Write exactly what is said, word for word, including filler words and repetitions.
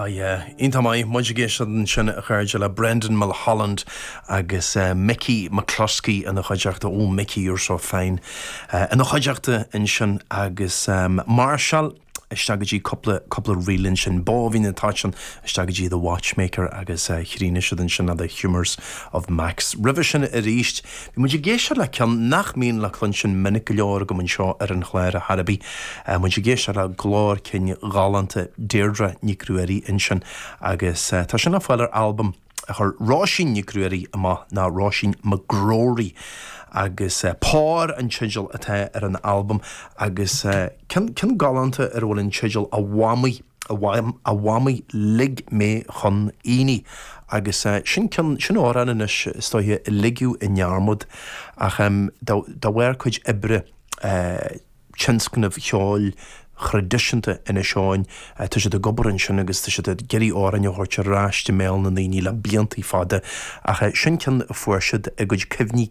Ah yeah, iontach maith muid ag éisteacht ansin a chairde le Brendan Mulholland agus uh, Mickey McCluskey ina chuideachta ó Mickey you're so fine. Uh, ina chuideachta ansin agus um, Marshall isteach go dtí cúpla cúpla ríl sin bóhín atá isteach go dtí the Watchmaker agus uh, chríochnaigh siad ansin the Humours of Max. Roimhe sin arís, Bhí muid ag éisteacht le ceann nach mbíonn le cluinstin minic go leor go anseo ar an chlár a Harabi. Uh, muid ag éisteacht le glór cinn galánta Deirdre Nic Ruairí ansin agus uh, tá sin le fáil ar albam a chuir Róisín Nic Ruairí amach ná Róisín McGrory agus uh, Pár an teideal atá ar an albam agus uh, ceann galánta ar bhfuil an teideal a Mhamaí a Mhamaí lig mé chun aonaigh agus uh, sin sin amhrán anois is dóiche a ligeadh i ndearmad ach um, dá bharr cuid oibre uh, tionscnamh cheoil thraidisiúnta Inis Eoghain tá siad ag obair ansin agus tá siad ag iarraidh amhráin a thabhairt ar ais i mbéal na ndaoine le blianta fada ach sin ceann a fuair siad a gcuid cuimhní